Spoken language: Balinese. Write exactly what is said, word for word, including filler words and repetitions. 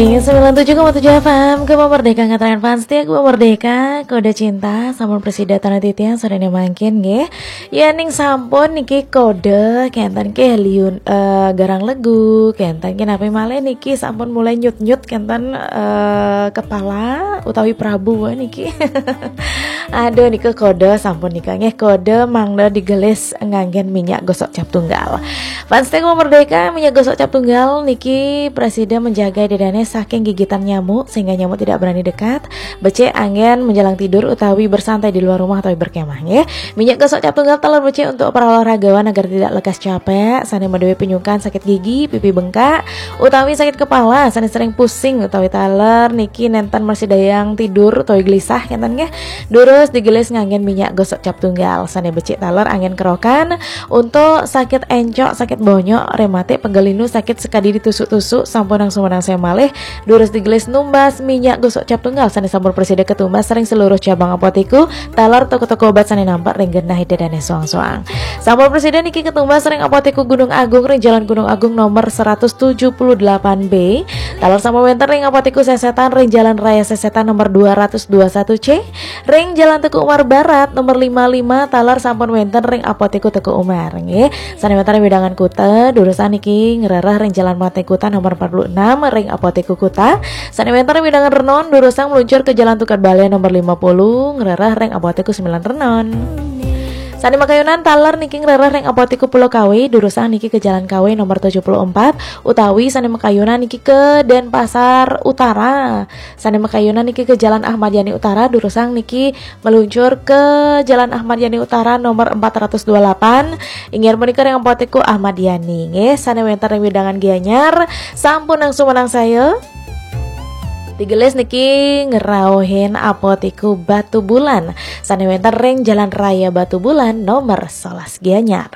Sembilan tujuh koma tujuh F M, Gema Merdeka, ngaturaken fans setia Gema Merdeka, kode cinta, sampun presida tana titiang, sorene mangkin nggih. Yening sampun niki kode, kenten ke liun, eh, garang legu, kenten ke napi malih niki sampun mulai nyut-nyut kenten, eh, kepala utawi Prabu niki. Aduh, nika kode sampun nika nggih, kode mangda digelis nganggen minyak gosok cap tunggal. Fans Gema Merdeka, minyak gosok cap tunggal niki presida menjaga dedane saking gigitan nyamuk sehingga nyamuk tidak berani dekat. Becik anggen menjelang tidur utawi bersantai di luar rumah utawi berkemah nggih. Minyak gosok cap tunggal taler becik untuk para olahragawan agar tidak lekas capek, sane maduwe pinyukan sakit gigi, pipi bengkak, utawi sakit kepala, sane sering pusing utawi taler niki nenten mersidayang tidur utawi gelisah kenten nggih. Durus digelis nganggen minyak gosok cap tunggal, sane becik taler anggen kerokan untuk sakit encok, sakit bonyok, rematik, pegel linu, sakit sekadi ditusuk-tusuk, sampunang sumenang saya malih. Durus digelis numbas minyak gosok cap tunggal sane sampun presida ketumbas ring seluruh cabang apoteku, taler toko-toko obat sane nampak ring genah ida dane soang-soang. Sampun presida niki ketumbas ring apoteku Gunung Agung ring Jalan Gunung Agung nomor seratus tujuh puluh delapan B. Taler sampun wenten ring apoteku Sesetan ring Jalan Raya Sesetan nomor dua ratus dua satu C. Ring Jalan Teuku Umar Barat nomor lima lima, taler sampun wenten ring apoteku Teuku Umar nggih. Sane wenten ring wewidangan Kuta, durusang niki ngrereh ring Jalan Mate Kuta nomor empat puluh enam ring apoteku Kuta. Sane wenten ring wewidangan Renon, durusang meluncur ke Jalan Tukad Bale nomor lima puluh, ngrereh ring apoteku sembilan Renon. Sane makayunan taler niki ngrereh ring apoteku Pulau Kawe, durusang niki ke Jalan Kawe nomor tujuh puluh empat, utawi sane makayunan niki ke Denpasar Utara. Sane makayunan niki ke Jalan Ahmad Yani Utara, durusang niki meluncur ke Jalan Ahmad Yani Utara nomor empat ratus dua puluh delapan. Inggih punika ring apoteku Ahmad Yani nggih, sane wenten ring wewidangan Gianyar, sampunang sumenang saya. Digelis niki ngrauhin apoteku Batu Bulan, sane wenten ring Jalan Raya Batu Bulan nomor sebelas Gianyar.